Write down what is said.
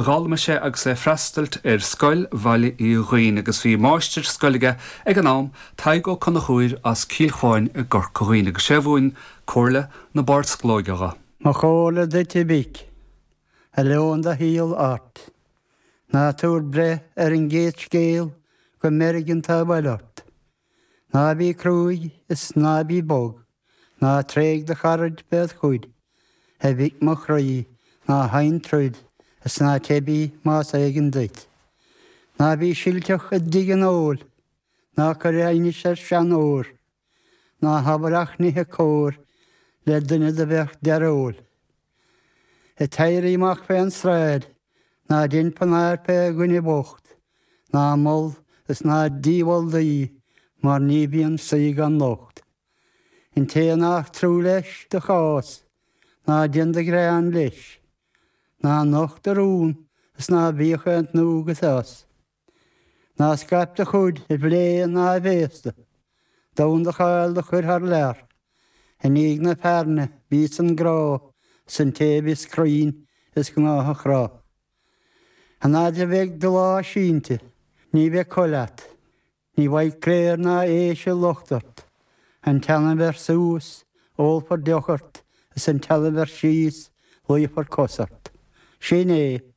D'fhoghlaim sé agus é ag freastailt ar Scoil Bhaile Uí Dhuinn agus bhí máistir scoile aige ag an am, Tadhg Ó Conchúir as Cill Chuáin i gCorca Dhuibhne agus sé a mhúin comhairle na bárdsclóige dho. Mo chomhairle duit a mhic, a leomhann do shaol ort, ná tabhair breith ar an gcéad scéal go meirg an taobh eile ort. Ná bí cruaidh is ná bí bog. Ná tréig do charaid féd chuid, a mhic mo chroí, ná sheinn troid is ná teibí más éigean duit. Ná bí silteach i dtigh an óil, ná cuir aighneas ar seanóir, ná habair ach nithe cóir le duine do bheadh dearóil. Ag t-éirí amach fén sráid, ná dein pionair fé dhuine bhocht, ná mol is ná dímhol daoi mar ní bhíonn saoi gan locht. An té nach trua leis do chás, ná déan do ghreann leis. Ná nocht do rún is ná bíodh aon tnúth agat as. Ná scaip do chuid i bplé ná i bhféasta, d'fhonn do cháil do chur thar lear. I ndiaidh na fearthainne bíos an grá 's an té bhíos cruinn is gnách a chrá. An fhaid a bheidh do lá sínte, ní bheidh col leat. Ní bhfaighidh cléir ná éise locht ort. An teann a bheir suas, ólfar deoch ort, is an teann a bheir síos, luífear cos ort. Sin é.